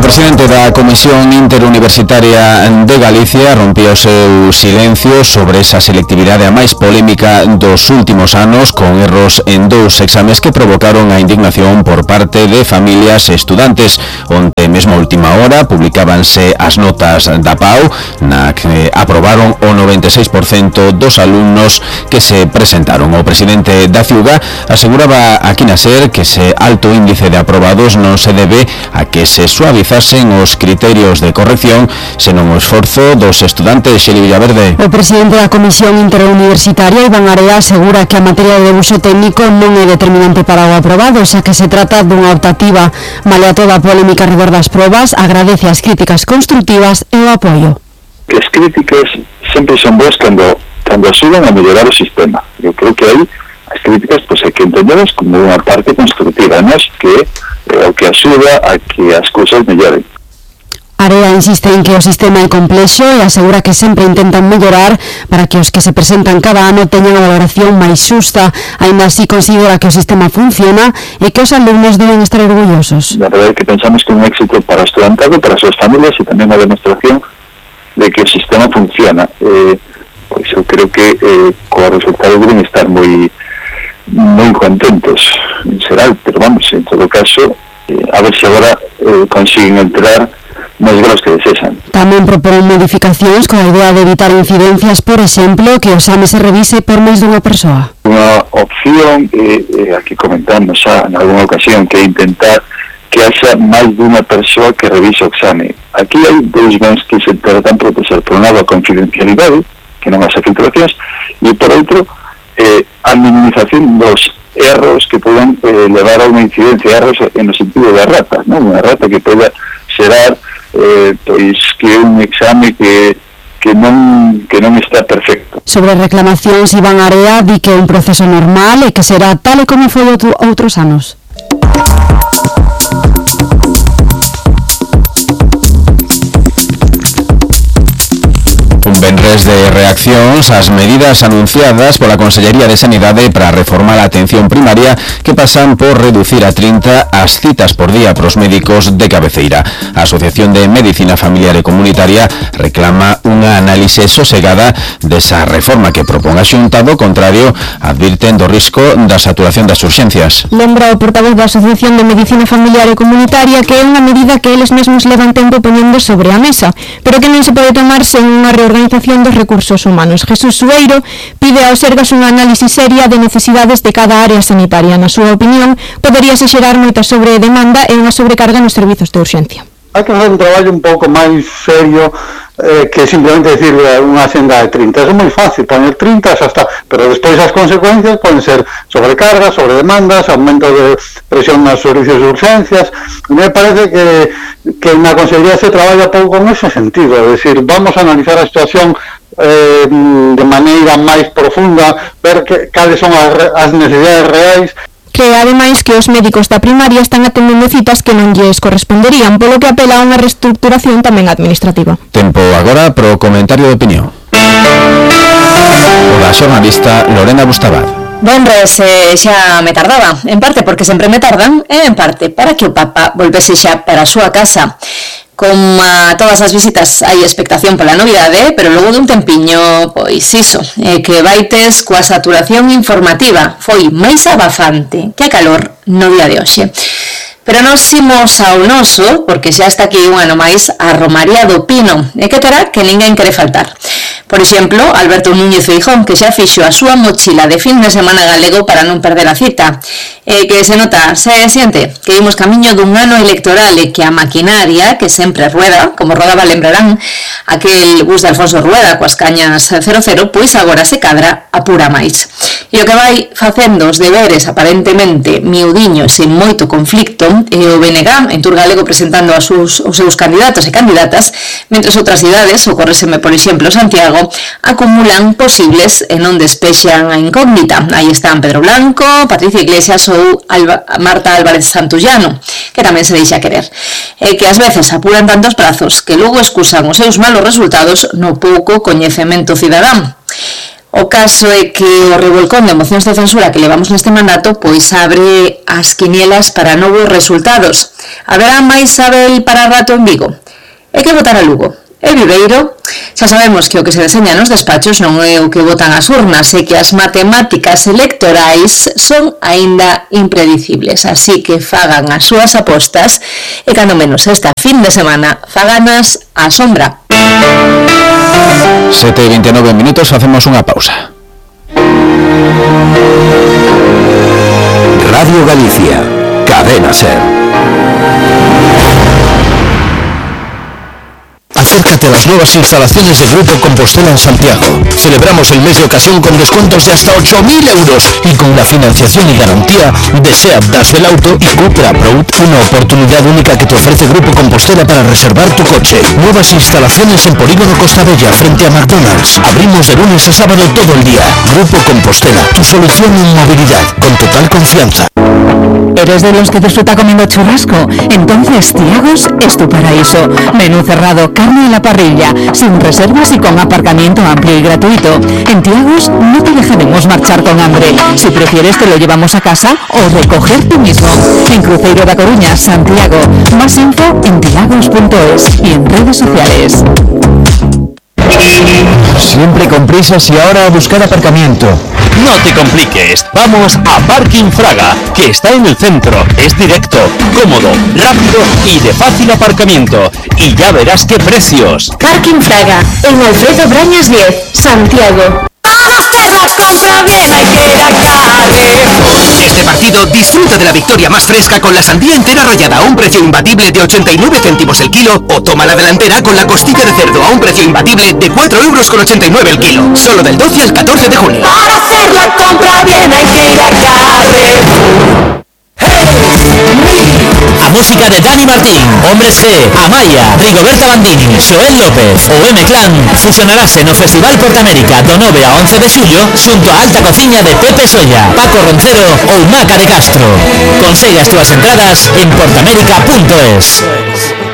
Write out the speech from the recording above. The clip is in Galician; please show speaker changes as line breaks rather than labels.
presidente da Comisión Interuniversitaria de Galicia rompeu o seu silencio sobre esa selectividade a máis polémica dos últimos anos, con erros en 2 exames que provocaron a indignación por parte de familias e estudantes. Onte mesmo a última hora publicábanse as notas da PAU, na que aprobaron o 96% dos alumnos que se presentaron. O presidente da Ciuga aseguraba aquí na SER que ese alto índice de aprobados non se debe a que se suavizasen os criterios de corrección, senón o esforzo dos estudantes. Xeli Villaverde.
O presidente da Comisión Interuniversitaria, Iván Area, asegura que a materia de uso técnico non é determinante para o aprobado, xa que se trata dunha optativa. Malea toda a polémica redor das probas, agradece as críticas constructivas e o apoio.
As críticas sempre son boas cando axudan a mellorar o sistema. Eu creo que aí as críticas hai que entenderlas como unha parte constructiva, non que é o que axuda a que as cousas melloren.
Area insiste en que o sistema é complexo e asegura que sempre intentan mellorar para que os que se presentan cada ano teñan a valoración máis xusta. Ainda así considera que o sistema funciona e que os alumnos deben estar orgullosos.
La verdade é que pensamos que é un éxito para o estudantado, para as súas familias e tamén a demostración de que o sistema funciona. Pois eu creo que co resultado deben estar moi contentos en xeral, pero vamos, en todo caso a ver se agora consiguen entrar nos graus que desexan.
Tamén propón modificacións con a idea de evitar incidencias, por exemplo, que o exame se revise por máis dunha persoa.
Unha opción, aquí comentamos xa en alguna ocasión, que é intentar que haxa máis dunha persoa que revise o exame. Aquí hai dous bens que se tratan de proteger. Por un lado, a confidencialidade, que non haxa filtracións, e por outro, a minimización dos erros que poden levar a unha incidencia, erros no sentido da rata, non? Unha rata que poda xerar pois que é un exame que non está perfecto.
Sobre reclamacións, Iván Area di que é un proceso normal e que será tal e como foi outros anos.
Venres de reaccións ás medidas anunciadas pola Consellería de Sanidade para reformar a atención primaria, que pasan por reducir a 30 as citas por día para os médicos de cabeceira. A Asociación de Medicina Familiar e Comunitaria reclama unha análise sosegada desa reforma que propón a Xunta. Do contrario, advirten do risco da saturación das urxencias.
Lembra o portavoz da Asociación de Medicina Familiar e Comunitaria que é unha medida que eles mesmos levan tempo poñendo sobre a mesa, pero que non se pode tomar sen unha reorganización dos recursos humanos. Jesús Sueiro pide ao Sergas unha análise seria de necesidades de cada área sanitaria. Na súa opinión, poderíase xerar moita sobredemanda e unha sobrecarga nos servizos de urxencia.
Hai que facer un traballo un pouco máis serio que simplemente decir unha senda de 30. É moi fácil, poner 30 xa está, pero despois as consecuencias poden ser sobrecargas, sobredemandas, aumento de presión nos servicios de urxencias. Me parece que na Consellería se traballa pouco en ese sentido, é dicir, vamos a analizar a situación de maneira máis profunda, ver cales son as necesidades reais.
Cree, ademais, que os médicos da primaria están atendendo citas que non lles corresponderían, polo que apela a unha reestructuración tamén administrativa.
Tempo agora pro comentario de opinión. O da xornalista Lorena Bustabad.
Venres, xa me tardaba, en parte porque sempre me tardan, e en parte para que o Papa volvese xa para a súa casa. Como a todas as visitas hai expectación pola novidade, pero logo dun tempiño, pois iso, que vaites coa saturación informativa foi máis abafante que a calor no día de hoxe. Pero nos imos ao noso, porque xa está aquí un ano máis a Romaría do Pino, e que terá que ninguén quere faltar. Por exemplo, Alberto Núñez Feijóo, que xa fixo a súa mochila de fin de semana galego para non perder a cita. Que se nota, se siente que imos camiño dun ano electoral e que a maquinaria, que sempre rueda, como rodaba, lembrarán, aquel bus de Alfonso Rueda coas cañas 00, pois agora se cadra a pura máis. E o que vai facendo os deberes aparentemente miudiños e moito conflicto é o BNG en Tour Galego presentando os seus candidatos e candidatas, mentre outras cidades, ocorreseme por exemplo Santiago, acumulan posibles e non despexan a incógnita. Aí están Pedro Blanco, Patricia Iglesias ou Marta Álvarez Santullano, que tamén se deixa querer. E que ás veces apuran tantos prazos que logo excusan os seus malos resultados no pouco coñecemento cidadán. O caso é que o revolcón de mocións de censura que levamos neste mandato pois abre as quinielas para novos resultados. Haberá máis Abel para rato en Vigo? É que votar a Lugo e Viveiro? Xa sabemos que o que se deseña nos despachos non é o que votan as urnas e que as matemáticas electorais son aínda impredicibles, así que fagan as súas apostas e cando menos esta fin de semana faganas á sombra.
7:29 minutos, facemos unha pausa.
Radio Galicia, Cadena Ser. Acércate a las nuevas instalaciones de Grupo Compostela en Santiago. Celebramos el mes de ocasión con descuentos de hasta 8.000 euros y con la financiación y garantía de SEAT, Dash del Auto y Cupra Proud, una oportunidad única que te ofrece Grupo Compostela para reservar tu coche. Nuevas instalaciones en Polígono Costa Bella frente a McDonald's. Abrimos de lunes a sábado todo el día. Grupo Compostela, tu solución en movilidad, con total confianza.
¿Eres de los que disfruta comiendo churrasco? Entonces Tiagos es tu paraíso. Menú cerrado, carne a la parrilla, sin reservas y con aparcamiento amplio y gratuito. En Tiagos no te dejaremos marchar con hambre. Si prefieres te lo llevamos a casa o recoger tú mismo. En Cruzeiro da Coruña, Santiago. Más info en tiagos.es y en redes sociales.
Siempre con prisas y ahora a buscar aparcamiento.
No te compliques, vamos a Parking Fraga, que está en el centro, es directo, cómodo, rápido y de fácil aparcamiento. Y ya verás qué precios.
Parking Fraga, en Alfredo Brañas 10, Santiago. Para hacer la compra bien hay que ir a Carrefour.
Este partido disfruta de la victoria más fresca con la sandía entera rallada a un precio imbatible de 89 céntimos el kilo, o toma la delantera con la costilla de cerdo a un precio imbatible de 4,89 € el kilo. Solo del 12 al 14 de junio.
Para hacer la compra bien hay que ir a Carrefour.
A música de Dani Martín, Hombres G, Amaya, Rigoberta Bandini, Joel López o M-Clan fusionarase no Festival Portamérica do 9 a 11 de xullo xunto a alta cociña de Pepe Solla, Paco Roncero ou Maca de Castro. Consegue as túas entradas en portamérica.es.